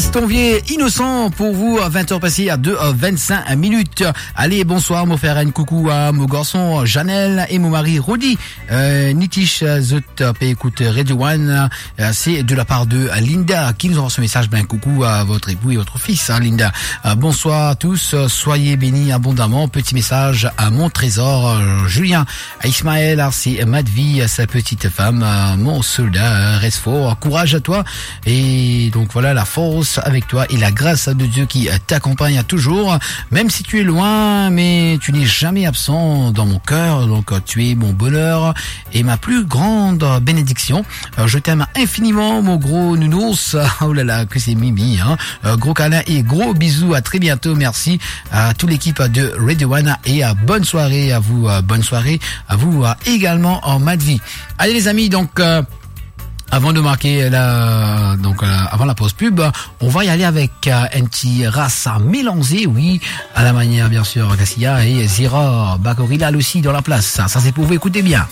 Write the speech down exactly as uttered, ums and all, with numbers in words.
Ton vie inosan pour vous, vingt heures passées à deux, euh, vingt-cinq minutes. Allez, bonsoir, mo fer enn koukou à mon garçon Janel et mon mari Rodi. Euh, Nitish, euh, zot, euh, pe écoute Radio One, euh, c'est de la part de, euh, Linda qui nous envoie ce message. Ben, coucou à votre époux et votre fils, hein, Linda. Euh, bonsoir à tous, euh, soyez bénis abondamment. Petit message à mon trésor, euh, Julien, à Ismaël, à Arsi, Madvi, à sa petite femme, euh, mon soldat, euh, reste fort, courage à toi. Et donc voilà, la force avec toi et la grâce de Dieu qui, euh, t'accompagne toujours. Même si tu es loin, mais tu n'es jamais absent dans mon cœur. Donc, euh, tu es mon bonheur et ma plus grande bénédiction. Euh, je t'aime infiniment, mon gros nounours. Oh là là, que c'est Mimi, hein. Euh, gros câlin et gros bisous. À très bientôt. Merci à toute l'équipe de Radio One et, euh, bonne soirée à vous. Euh, bonne soirée à vous, euh, également en Madvi. Allez les amis, donc, euh, avant de marquer la, donc, euh, avant la pause pub, on va y aller avec, euh, un petit rasta mélangé, oui, à la manière, bien sûr, Cassia et Zira, Bakorila aussi dans la place. Ça, ça c'est pour vous, écoutez bien.